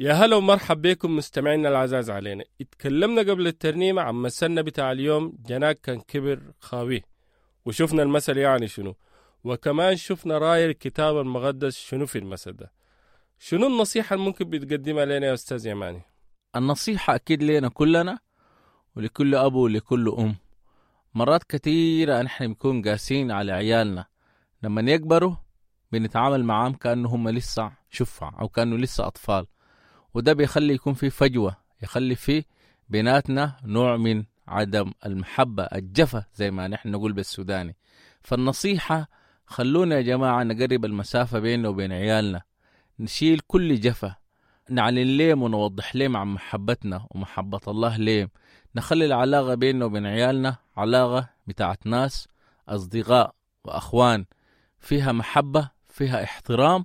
يا هلا ومرحب بكم مستمعينا العزاز علينا. اتكلمنا قبل الترنيمة عن مثلنا بتاع اليوم، جناك كان كبر خاويه، وشفنا المثل يعني شنو، وكمان شفنا راي الكتاب المقدس شنو في المثل ده. شنو النصيحة اللي ممكن بتقدمها لنا يا أستاذ يماني؟ النصيحة أكيد لنا كلنا ولكل أب ولكل أم. مرات كثيرة نحن بنكون قاسين على عيالنا، لما يكبروا بنتعامل معاهم كأنه هم لسه شفع أو كأنه لسه أطفال، وده بيخلي يكون في فجوة، يخلي في بيناتنا نوع من عدم المحبة، الجفا زي ما نحن نقول بالسوداني. فالنصيحة خلونا يا جماعة نقرب المسافة بيننا وبين عيالنا، نشيل كل جفا، نعلن لهم ونوضح لهم عن محبتنا ومحبة الله لهم، نخلي العلاقة بيننا وبين عيالنا علاقة بتاعت ناس أصدقاء وأخوان، فيها محبة، فيها احترام،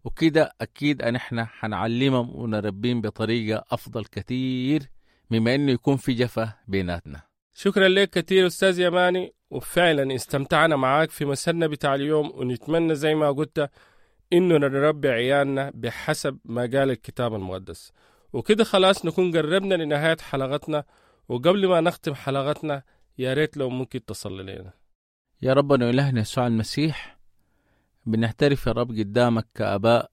وكده أكيد أن إحنا حنعلمهم ونربيهم بطريقة أفضل كثير مما إنه يكون في جفا بيناتنا. شكرا لك كثير أستاذ يماني، وفعلا استمتعنا معاك في مثلنا بتاع اليوم، ونتمنى زي ما قلت إنه نربي عيالنا بحسب ما قال الكتاب المقدس. وكده خلاص نكون قربنا لنهاية حلقتنا، وقبل ما نختم حلقتنا يا ريت لو ممكن تصلي لنا. يا ربنا وإلهنا يسوع المسيح، بنعترف يا رب قدامك كأباء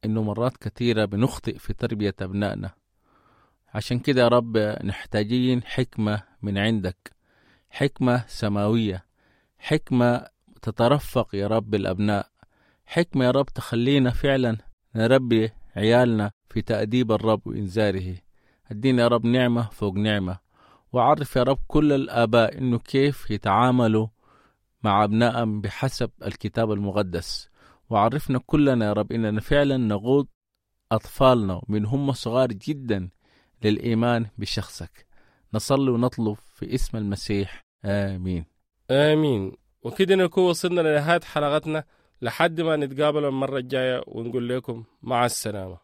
إنه مرات كثيرة بنخطئ في تربية أبنائنا، عشان كده يا رب نحتاجين حكمة من عندك، حكمة سماوية، حكمة تترفق يا رب الأبناء، حكمة يا رب تخلينا فعلا نربي عيالنا في تأديب الرب وإنذاره. ادينا يا رب نعمة فوق نعمة، وعرف يا رب كل الآباء إنه كيف يتعاملوا مع أبنائهم بحسب الكتاب المقدس، وعرفنا كلنا يا رب إننا فعلا نقود أطفالنا من هم صغار جدا للإيمان بشخصك. نصلي ونطلب في اسم المسيح، آمين. آمين. وكده نكون وصلنا لنهاية حلقتنا، لحد ما نتقابل المرة الجاية ونقول لكم مع السلامة.